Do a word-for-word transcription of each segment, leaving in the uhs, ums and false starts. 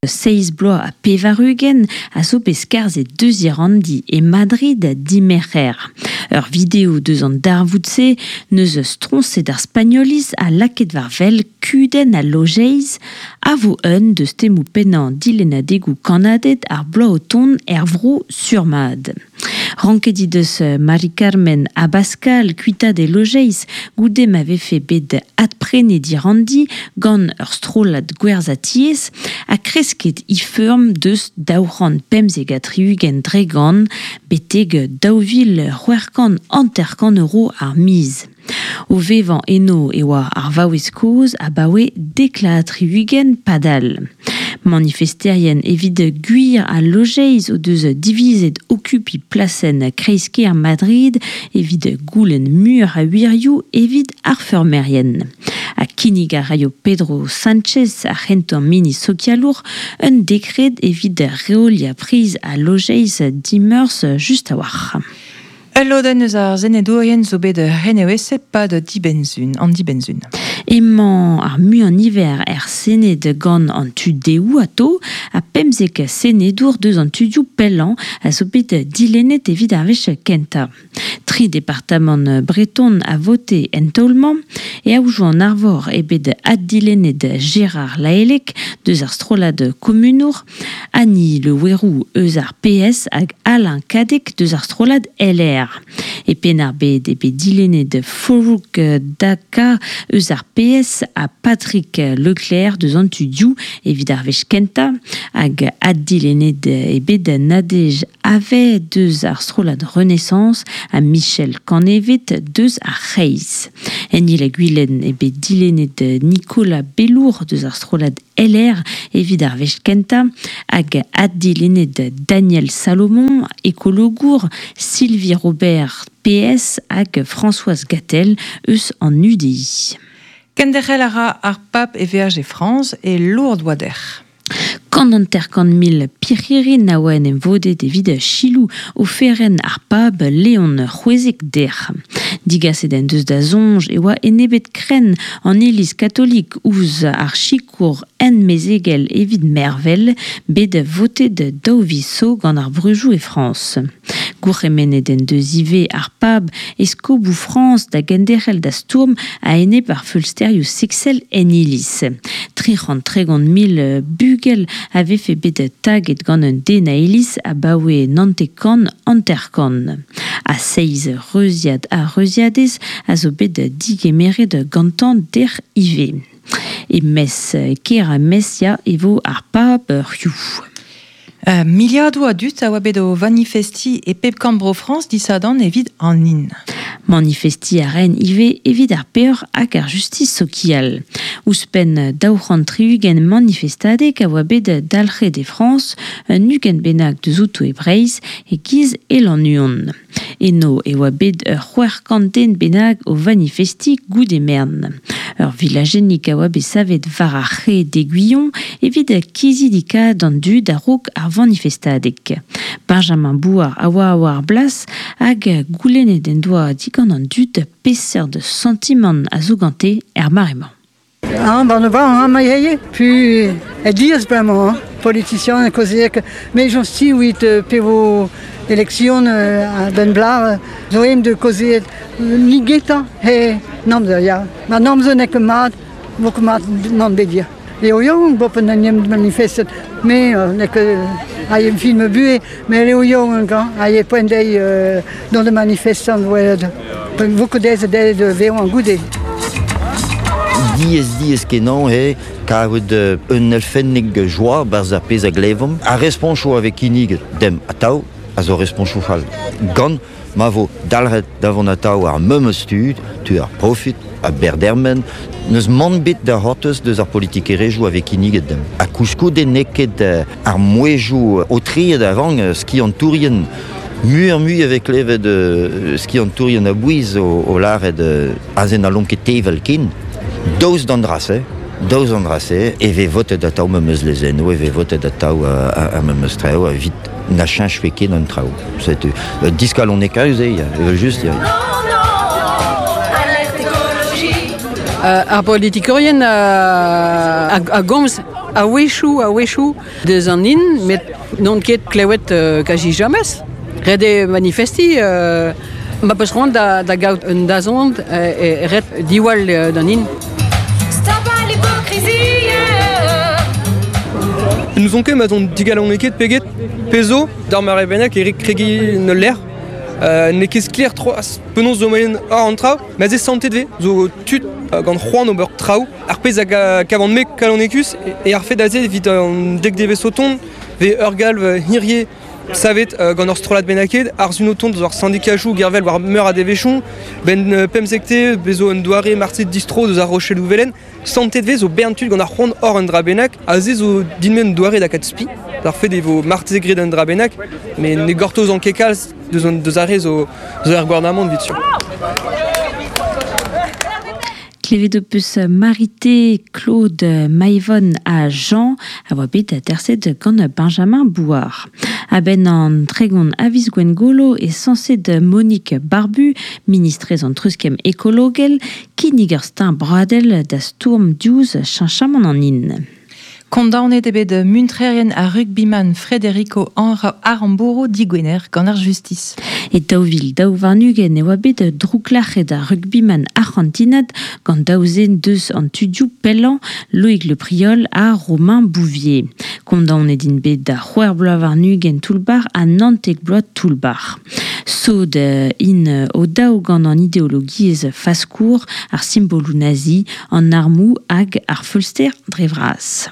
Seizh bloaz ha pevar-ugent a zo bet skarzhet deus he ranndi e Madrid dimerc'her. Ur video deus an darvoud-se neus stroñset ar Spagnoliz ha lakaet war wel kudenn al lojeiz a vo un deus temoù pennañ dilennadegoù kannaded ar bloaz o tont er vro surmat. Ranket he deus Mari Carmen Abascal kuitaat he lojeiz goude ma vefe bet adprenet he ranndi gant ur strollad gwerzhañ-tiez ha kresket he feurm deus daou c'hant pemzek ha tri-ugent dre gant betek daou vil c'hwec'h kant hanter-kant euro ar miz. O vevañ eno e oa ar vaouez kozh abaoe dek ha tri-ugent padal. Manifesterien evit gwir al lojeiz o deus divizet okupiñ plasenn kreiz-kêr Madrid evit goulenn muioc'h a wirioù evit ar feurmerien. Ha kinnig a raio Pedro Sánchez, ar c'hentañ ministr sokialour, un dekred evit reoliañ priz al lojeiz dimeurzh just a-walc'h. Ul lodenn eus ar senedourien zo bet renevezet 'pad dibenn-sizhun, an dibenn-sizhun. Emañ ar muiañ-niver er Sened gant an tu dehoù atao ha pemzek senedour deus an tudioù pellañ a zo bet dilennet evit ar wech kentañ. Tri departamant breton a vote en taol-mañ e Aodoù an Arvor eo bet addilennet Gérard Lahellec deus ar strollad komunour, Annie Le Houerou eus ar P S hag Alain Cadec deus ar strollad L R. E Penn-ar-Bed eo bet dilennet Forough Daka eus ar P S ha Patrick Leclerc deus an tudioù evit ar wech kentañ hag addilennet eo bet Nadège Havet deus ar strollad Renaissance ha Michel Canevet deus ar C'hreiz. En Il-ha-Gwilen eo bet dilennet Nicolas Bellour deus ar strollad L R evit ar wech kentañ hag addilennet Daniel Salomon, ekologour, Sylvie Robert P S hag Françoise Gatel eus an U D I. Kenderc'hel a ra ar pap e veaj e Frañs e Lourdes oa dec'h. Kant hanter-kant mil pirc'hirin a oa en em vodet evit Chilou oferenn ar pab Leon c'hwezek dec'h. Digaset en deus da soñj e oa enebet krenn an iliz katolik ouzh ar sikour enmezegel evit mervel, bet votet daou viz zo gant ar breujoù e Frañs. Gourc'hemennet en deus ivez ar pab eskoboù Frañs da genderc'hel da stourm a-enep ar feulsterioù seksel en iliz. Tri c'hant tregont mil bugel a vefe bet taget gant un den a iliz abaoe naontek-kant hanter-kant. Ha seizh reuziad ha reuziadez a zo bet digemeret gantañ dec'h ivez. E mes kêr ha Mesia e vo ar pab hiziv. Euh, miliadoù a dud a oa bet o manifesti e pep kambro Frañs disadorn evit an hin. Manifesti a ren ivez evit ar peoc'h hag ar justis sokial. Ouzhpenn daou c'hant tri-ugent manifestadeg a oa bet dalc'het e Frañs, un ugent bennak deus outo e Breizh e-giz e Lannuon. Eno e oa bet ur c'hwec'h kant den bennak o manifesti goude mern. Ur vilajennig a oa bet savet war ar c'hae d'Aiguillon evit kizidikaat an dud a-raok ar manifestadeg. Benjamin Bouard a oa war blas hag goulennet en doa digant an dud peseurt santimant a zo gante er mare-mañ. Ah, ben, ben, hein, ma yeye, puis, e diaz bremañ, hein, politicien, kaozeek, mais j'en suis, oui, te pevo élection, euh, a ben bla, zo em de kaozeet, ni geta, he, namzer, ya. Ma namzer nek mat, vo ket mat nan bedir. Leo young, bopen an iem manifestet, mais, euh, nek, euh, a iem film bué, mais leo young, hein, a ie poent dei, euh, dans le manifestant, ouais, de, vo ket dez de, de veon an goude. Diez, diez kenañ eo kaout un elfennig joa barzh ar pezh a glevom. Ar responchoù a vez kinnig dem atav a zo responchoù fall. Gant ma vo dalc'het davant atav ar memes tud, tu ar profit, a berdermen, neus mann bet da c'hortoz deus ar politikerezhioù a vez kinniget dem. Ha koulskoude n'eo ket ar mouezhioù aotreet a-rañ skiantourien muioc'h mui a vez klevet skiantourien a-bouez o, o lâret azen a lomp ket tevel ken. Daoust d'an dra-se, daoust d'an dra-se, e vez votet atav memes lezennoù, e vez votet atav ar memes traoù, evit na cheñch ket an traoù. Setu, diskalonekaus eo, evel just, ya. Non, non, alerte écologie. Uh, ar politikorien a, a, a gomz a wechou, a wechou deus an in, met non ket klewet uh, kaji jamez. Ret eo manifesti, uh, ma peus c'hoant da, da gaout un dazont e, e ret diwall uh, d'an in. Stop à l'hypocrisie. Nous on ket ma zon digaloneket peget pezo d'ar mare bennak Eric Kregi ne l'air. Euh, ne ket skler troaz penaos zo moyen ar an traoù, ma ze santet ve, zo tud euh, gant c'hoant ober traoù, ar pezh hag a kavan me kalonekus, e ar fet aze evit an dek devez oton, ve ur galv hirie savet euh, gant ur strollad bennaket, ar zun oton deus ar syndikajou gervel war meur a devechon, ben euh, pemzekte bezo un doare martet distro deus ar Rochelle Ouvelen, santet ve zo bern tud gant ar c'hoant hor un dra bennak, aze zo dinmen doare da kat spi, ar fet e vo marteze gret un dra bennak, mais ne gortoz an kekalz deus an deus ar re zo, zo ar gouarnamant vit sur. Klevet o peus Marité, Claude, Maïvonne ha Jean a oa bet aterset gant Benjamin Bouard. A-benn an tregon aviz Gwengolo e sañset Monique Barbu, ministrez an treuzkemm ekologel, kinnig ur steuñv bradel da stourm diouzh cheñchamant an hin. Kondaonet eo bet muntrerien ar rugbyman Federico Aramburu digwener gant ar justiz. E daou vil daou warn-ugent e oa bet drouklac'het ar rugbyman arc'hantinat gant daou zen deus an tudioù pellañ Loïc Le Priol ha Romain Bouvier. Kondaonet int bet da c'hwec'h bloaz warn-ugent toull-bac'h ha naontek bloaz toull-bac'h. Sod int o daou gant an ideologiezh faskour, ar simboloù nazi, an armoù hag ar feulster dre vras.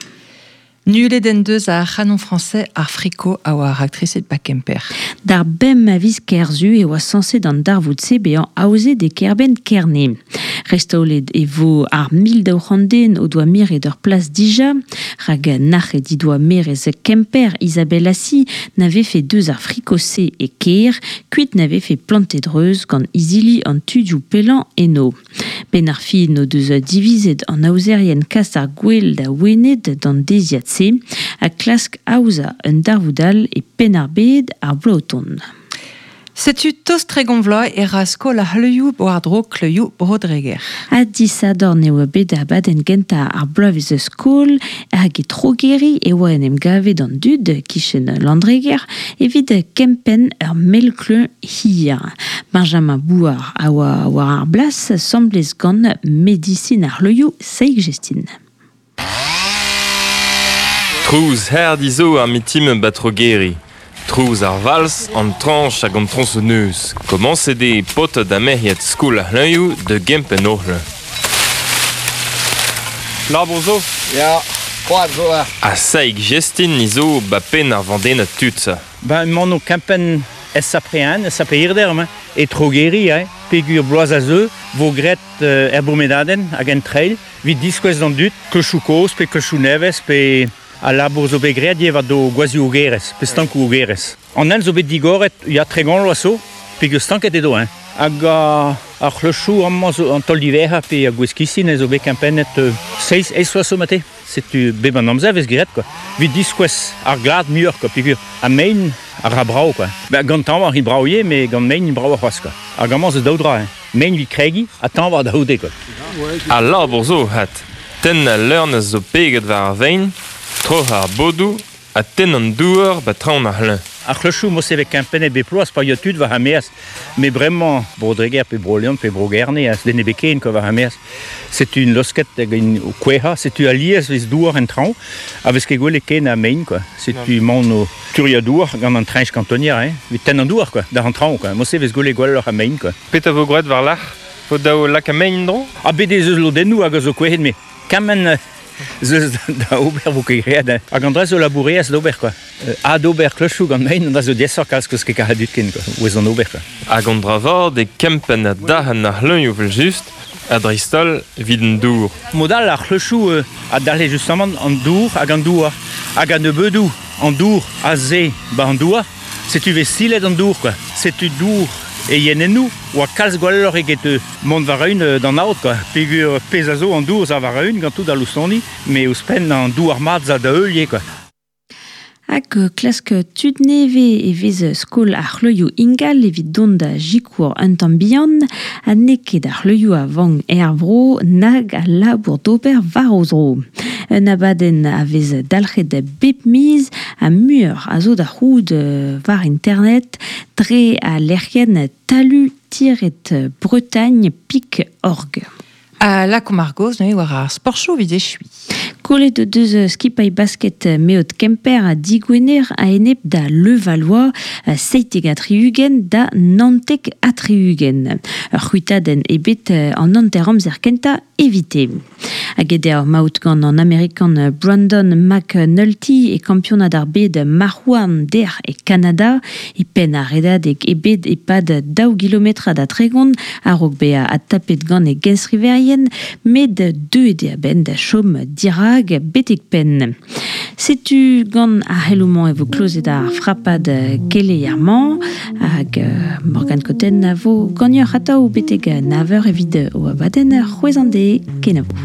Nullet en deus ar c'hanon français ar friko a oa ar aktriset ba Kemper. D'ar bemp a viz Kerzu e oa sañset an darvoud-se bezañ aozet e kêr-benn Kerne. Restaolet e vo ar mil daou c'hant den o doa miret ur plas dija, rak nac'het he doa merez Kemper Isabelle Assi n'ave fait deus ar friko-se e kêr, kuit n'ave fait plantet reuz gant izili an tudioù pellañ eno. Ben ar fin o deus divizet an aozerien kas ar gwel da Wened d'an deziad-se, a klask aozañ un darvoud all e Penn-ar-Bed ar bloaz o tont. Setu tost tregont vloaz e ra skol ar c'hleuioù war-dro kleuioù Bro-Dreger. Ha disadorn e oa bet abadenn gentañ ar bloavezh skol hag e Trogeri e oa en em gavet an dud kichen Landreger evit kempenn ur mell-kleuñ hir. Benjamin Bouard a oa war ar blas semblez gant medisin ar c'hleuioù Saïk Jestin. Trouz herdi zo ar mitim ba Trogeri. Trouz ar vals, an tranch hag an tronçonneuse. Komañset eo paotr da merc'hed skol ar c'hleuñioù da gempenn oc'h. Labour zo? Ya, koad zo ar. Ha Saïk Jestin ni zo ba penn ar vandennad tud. Ben, emaon o kempenn S A P un, S A P Irder, ma, e Trogeri, hein, pegur bloaz a zeu, vo gret euh, er bourmedadenn hag en trail, vit diskouez d'an dud, kleuchoù kozh pe kleuchoù nevez pe a labour zo bet graet ivez do gwazioù ogerez, pe stankoù ogerez. An hent zo bet digoret, ya tregont loa zo, peogwir stanket edo, hein. Hag a, ar c'hleuchoù amañ zo an taol diverrañ pe a gwez-kistin zo bet kempennet euh, seizh, eizh vloaz zo mate. Setu bep an amzer vez graet, quoi. Vit diskouez ar glad muioc'h, quoi, peogwir a mein a ra brav, quoi. Ben, gant tañv ar brav ivez, met gant mein brav c'hoazh, quoi. Hag amañ zo daou dra, hein. Mein vit kregiñ ha tañv war da c'houde, quoi. Al labour zo, hat. Tenn al leurn zo peget war ar vein, troc'h ar bodoù ha tenn an douar ba traoñ ar c'hleuñ. Ar c'hleuchoù mo se vez kempennet bep ploaz pa ya tud war ar maez. Met bremañ Bro-Dreger pe Bro-Leon pe Bro-Gerne a den ebet ken quoi war ar maez. Setu un losket hag un kouezhañ, setu alies vez douar en traoñ, a vez ket gwelet ken a mein, quoi. Setu maon o turiañ douar gant an treñch kantonier, hein. Vit tenn an douar, quoi, d'ar an traoñ, quoi. Mo se vez gwelet gwelloc'h a mein, quoi. Petra vo gwraet war lac'h? Vo daou lak a mein dro? Ha bet ez eus lodennoù hag a zo kouezhet, met kement zeus da ober vo ket graet, hein. Hag an dra zo laboureaz d'ober, quoi. Euh, a d'ober kleuchoù gant mein, an dra zo diaesoc'h kalz keus ket karet dud ken, quoi. Ouez an ober, quoi. Hag an dra vat e kempenn a dahan ar c'hleuñioù vel just, ha dreist-holl evit an dour. Mod all ar c'hleuchoù euh, a dalc'he justement an dour hag an douar. Hag an nebeudoù an dour a ze ba an douar, setu vez silet an dour, quoi. Setu dour e yenennoù oa kalz gwelloc'h eget euh, mont war eun euh, d'an aod, quoi. Peogwir pezh a zo an dour za war eun gant tout al loustoni, met ouzhpenn an douar mat za da heulier, quoi. Hag klask tud neve e vez skol ar c'hloioù ingal evit dont da jikour un tamm bihan, ha n'eo ket ar c'hloioù a vank er vro nag a labour d'ober war o zro. Un abadenn a vez dalc'het bep miz ha muioc'h a zo da c'hoût war internet dre a lec'hienn talu tiret bretagne pik org. A lakaomp ar gaoz neuze war ar sportchoù evit echuiñ. Kollet o deus skipailh basket Meot Kemper ha digwener a-enep da Levallois seitek ha tri-ugent da naontek ha tri-ugent. Ur c'hwitadenn ebet an hanter-amzer kentañ evite. Hag eo maout gant an Amerikan Brandon McNulty e kampionad ar bed marc'h-houarn dec'h e Kanada, e penn ar redadeg ebet e-pad daou gilometrad ha tregont a-raok bezañ adtapet gant e genstriverien, met deuet eo a-benn da chom dirak betek penn. Setu gant ar c'heloù-mañ e vo klozet ar frapad keleier-mañ hag Morgane Cotten a vo ganeoc'h atav betek nav eur evit o abadenn c'hwezh an deiz kenavo.